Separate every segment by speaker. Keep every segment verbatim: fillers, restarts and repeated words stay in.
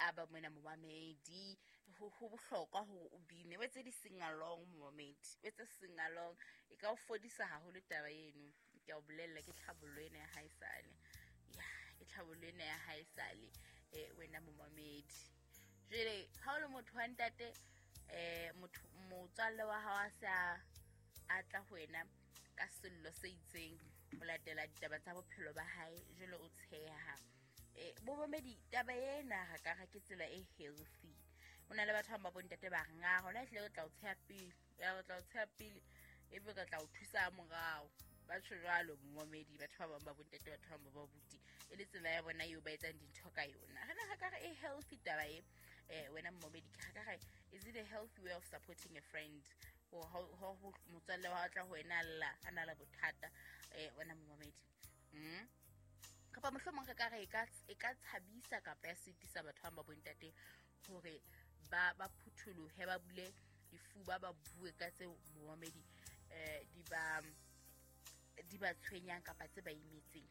Speaker 1: tshaba mona momamedi. Ho ho bohlokwa hore o bine, o etse di-sing-along momamedi, o etse sing-along. E ka o fodisa haholo taba eno. Ke a o bolella, ke tlhabollo ena ya haesale. Ya, ke tlhabollo ena ya haesale, eh wena momamedi. Jwale ha o le motho wa ntate, eh motho motswalle wa hao a se a a tla ho wena ka sello se itseng ho latela ditaba tsa bophelo ba hae, jwale o tsheha. Eh bomamedi, taba ena ha ka re ke tsela e healthy. Ho na le batho ba ba bontate ba reng, "Ah, hona ehlile re tla o tsheha pele, ya re tla o tsheha pele, ebe re tla o thusa morao." Ba tjho jwalo momamedi, batho ba bang ba bontate, batho ba bang ba babuti, e le tsela ya bona eo ba etsang dintho ka yona. Re na ka re e healthy taba e, eh wena momamedi, ke ka re is it a healthy way of supporting a friend? Ho ho motswalle wa tla ho wena lla a na le bothata, eh wena momamedi. Mm. Kapa mohlomong re ka re e ka e ka tshabisa kapa ya sitisa batho ba ba bontate hore ba ba phutholohe, ba bule difuba, ba bue ka tseo momamedi eh di ba di ba tshwenyang kapa tse ba imetseng.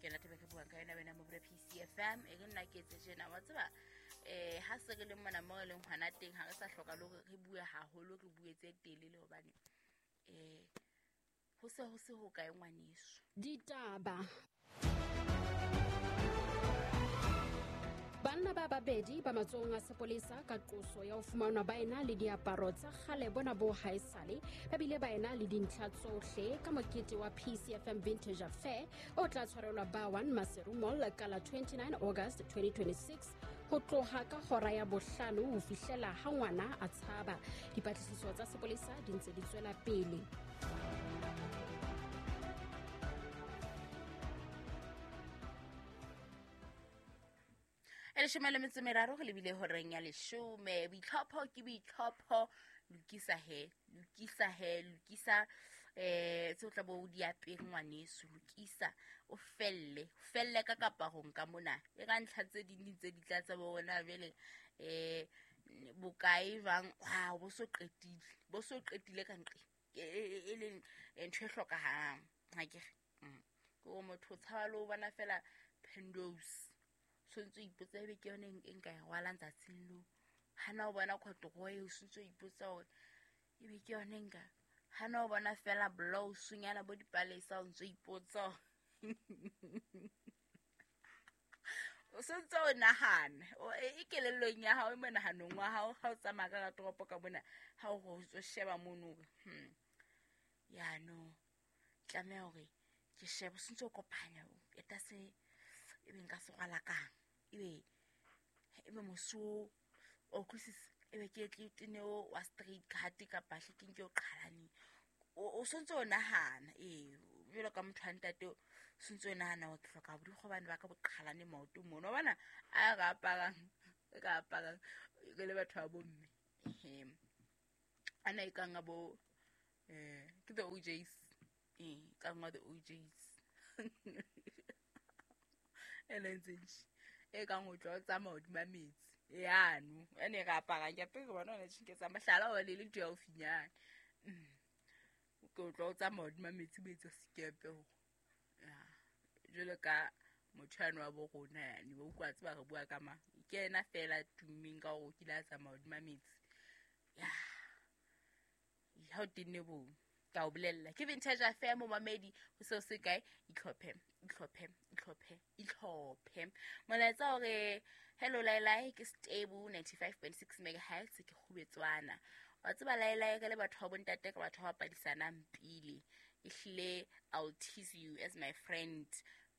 Speaker 1: Ke yona taba e re buang ka yona wena mo P C F M. E re nna ke etse tjena, wa tseba, eh ha se re le mona mo re leng hona teng, ha re sa hloka le hore re bue haholo, re bue tse telele hobane eh ho se ho se ho kae ngwaneso.
Speaker 2: Ditaba. Banna ba babedi ba matsohong a sepolesa ka qoso ya ho fumanwa ba ena le diaparo tsa kgale bona bo haesale, ba bile ba ena le dintlha tsohle ka mokete wa P C F M Vintage Affair o tla tshwarelwa Bawan Maseru Mall ka la twenty-nine August twenty twenty-six ho tloha ka hora ya bohlano ho fihlela ha ngwana a tshaba. Dipatlisiso tsa sepolesa di ntse di tswela pele.
Speaker 1: E leshome le metso e meraro re lebile horeng ya leshome. Boitlhopho ke boitlhopho, lokisa he, lokisa he, lokisa eh tseo tla bo o di apere ngwaneso, lokisa o felle, o felle ka kaparong ka mona. E ka ntlha tse ding di ntse di tla tsa bona jwale, eh bokae jwang, ha bo so qetile, bo so qetile ka nqe e leng ntho e hlokahalang. Ha ke re, ke hore motho o tshaba le ho bona fela Pendos, so ntse o ipotsa ebe ke yone e nka e rwalang tsatsing leo. Hana o bona corduroy, o so ntse o ipotsa hore ebe ke yone nka. Hana o bona fela blouse-nyana bo dipalesa, o ntse o ipotsa o so ntse o nahana, e kelellong ya hao, e monahanong wa hao, ha o tsamaya ka toropo ka mona, ha o re o sheba mono hore, hmm, ya no, tlameha hore ke shebe, o so ntse o kopanya, eta se ebe nka se rwala kang, ebe ebe moso o utlwisisa, ebe ke tle tene o wa straight cut kapa hle ke nke o qhalane. O so ntse o nahana, ee, jwalo ka motho wa ntate, o so ntse o nahana hore ke hloka borikgwe bane ba ka bo qhalane maoto mono. Wa bona a re aparang, re aparang re le batho ba bomme, ehe, ana e kang a bo, eh ke the O Js, eh kang wa the O Js. E leng e kang o tlo tsamaya hodima metsi yano ene re aparang ke apere bona ona tjhe ke tsa mohlala o le le ntho ya haufinyana. Ke o tlo tsamaya hodima metsi bo etsa sekepe hore ya jwalo ka motho yano wa bo rona yane, wa utlwa tseba re bua ka mang, ke yena fela tummeng ka hore o kile a tsamaya hodima metsi. Ya ha o tenne bo ka o bolella ke Vintage Affair momamedi, ho seo se kae, itlhophe, itlhophe, itlhophe, itlhophe. Molaetsa hore hello Lailai, ke stable ninety-five point six megahertz, ke kgubetswana. Wa tseba Lailai, re le batho ba bontate, ka batho ba padisanang pele. Ehlile I'll tease you as my friend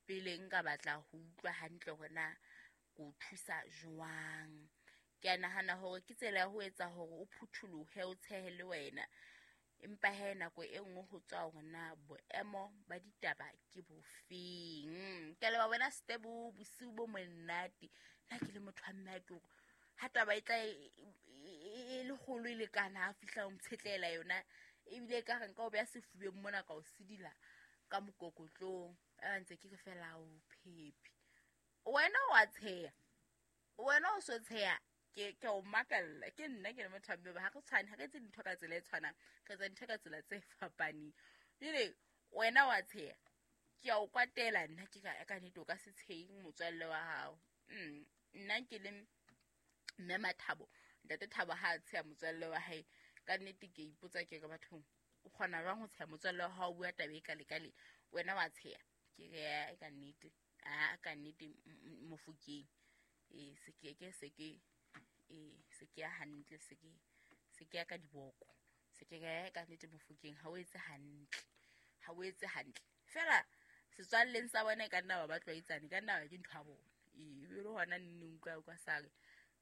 Speaker 1: pele nka batla ho utlwa hantle hore na ko thusa jwang. Ke a nahana hore ke tsela ya ho etsa hore o phutholohe, o tshehe le wena. Empa he nako e nngwe ho tswa hore na boemo ba ditaba ke bofeng. Ke a leboha wena Stebo, bosiu bo monate. Nna ke le motho wa mme, ke hore ha taba e tla e le kgolo e lekana, ha fihla o ntshetlela yona, ebile e ka re nka o beha sefubeng mona ka o sidila ka mokokotlong. A ntse ke re fela o phephi. Wena wa tsheha, wena o so tsheha, ke ke o makalla. Ke nna ke le motho wa mme, ha re tshwane, ha re etse dintho ka tsela e tshwanang, re etsa dintho ka tsela tse fapaneng. Jwale wena wa tsheha, ke a o kwatela nna, ke ka ka nnete o ka se tshehe motswalle wa hao. Mm, nna ke le Mme Mathabo, ntate Thabo ha a tsheha motswalle wa hae, ka nnete ke ipotsa ke re bathong, o kgona jwang ho tsheha motswalle wa hao o bua taba e kale kale, wena wa tsheha? Ke re ka nnete, a ka nnete Mofokeng. E se ke ke se ke e se ke ya hantle, se ke se ke ya ka diboko. Se ke ka nnete Mofokeng, ha o etse hantle, ha o etse hantle. Fela setswalleng sa bona e ka nna ba ba tlwaetsane, ka nna ba ke ntho ya bona. E be le hona nne utlwa kwa sa re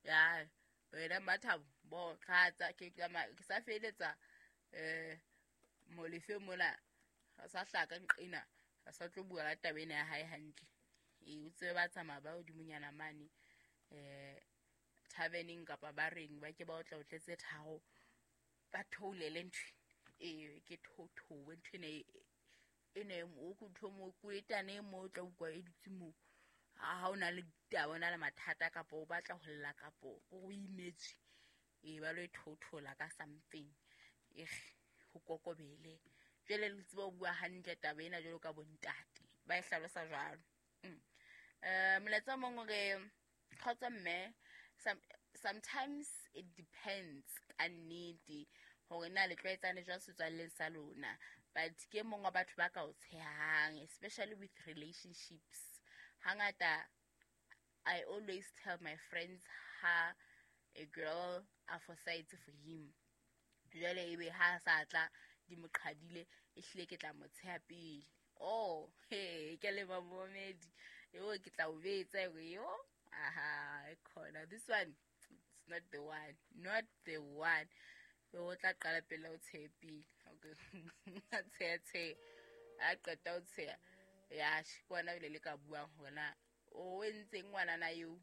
Speaker 1: ya wena Mathabo bo tlatsa ke ke sa feletsa eh Molefe mona a sa hlaka nqena, a sa tlo bua ka taba ena ya hae hantle. E o tsebe ba tsamaya ba hodimonyana mane eh taverneng kapa ba reng, ba ke ba otla o tletse tharo, ba theolele ntho e ke thothowe ntho ena e ne o ntho mo kwetane mo tla utlwa e dutse moo. Ha o na le ditaba, o na le mathata kapa o batla ho lla kapa o imetswe, e ba lo e thothola ka something e ho kokobele. Jwale le tseba ho bua hantle taba ena jwalo ka bontate, ba e hlalosa jwalo. Eh molaetsa o mong o re, kgotso mme, sometimes it depends ka nnete hore na le tlwaetsane jwang setswalleng sa lona, but ke mong wa batho ba ka o tshehang, especially with relationships. Hangata I always tell my friends ha a girl a fosaetse for him, jwale ebe ha sa tla di mo qhadile, ehlile ke tla mo tsheha pele. Oh he, ke le momedi yo, ke tla o betsa yo. Aha, e khona this one, it's not the one, not the one. Yo tla qala pele o tshehe pele. Okay, a tsheha tsheha, a qeta o tsheha ya ke ona le le ka buang hore na o entseng ngwanana eo.